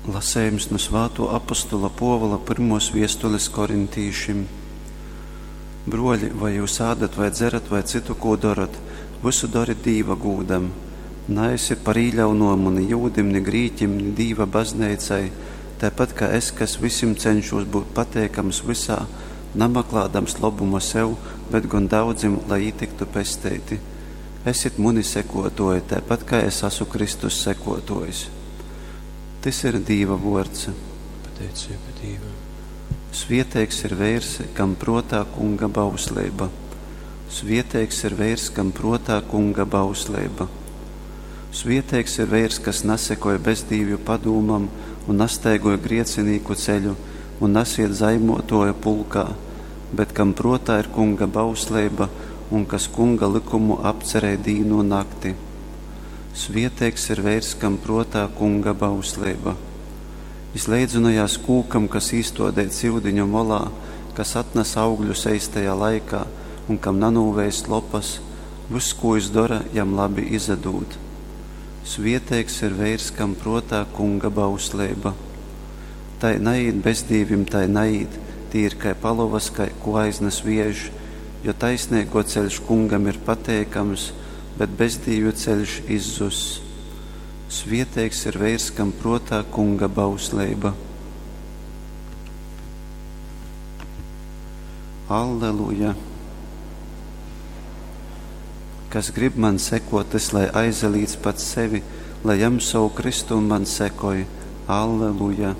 Lasejums nu svātuo apostola Puovula pyrmuos viestulis korintīšim. Bruoļi, voi jius ādat vai dzerat vai cytu kū dorot, vysu dorit Dīva gūdam. Naesit par īļaunumu ni jūdim, ni grīķim, ni Dīva bazneicai, taipat kai es, kas vysim ceņšūs byut pateikams vysā, namaklādams lobuma sev, bet gon daudzim, lai jī tyktu pesteiti. Esit muni sekuotuoji, taipat kai es asu Kristus sekuotuojs. Tys ir Dīva vuords. Pateiceiba Dīvam. Svieteigs ir veirs, kam pruotā Kunga bausleiba. Svieteigs ir veirs, kam pruotā Kunga bausleiba. Svieteigs ir veirs, kas nasekoj bezdīvju padūmam un nastaigoj griecinīku ceļu un nasied zaimuotuoju pulkā, bet kam pruotā ir Kunga bausleiba un kas Kunga lykumu apcerej dīnu un nakti. Svieteigs ir veirs, kam pruotā Kunga bausleiba. Jis leidzynojās kūkam, kas īstuodeits iudiņu molā, kas atnas augļus eistajā laikā un kam nanūveist lopas, vyss, kū jis dora, jam labi izadūd. Svieteigs ir veirs, kam pruotā Kunga bausleiba. Tai naīt bezdīvim, tai naīt, tī ir kai palovas, kai, kū aiznas viejš, jo taisneiguo ceļš Kungam ir pateikams, bet bezdīvju ceļš izzuss. Svieteigs ir veirs, kam pruotā Kunga bausleiba. Alleluja! Kas grib man sekot, tys lai aizalīdz pats sevi, lai jam sovu krystu un man sekoj. Alleluja!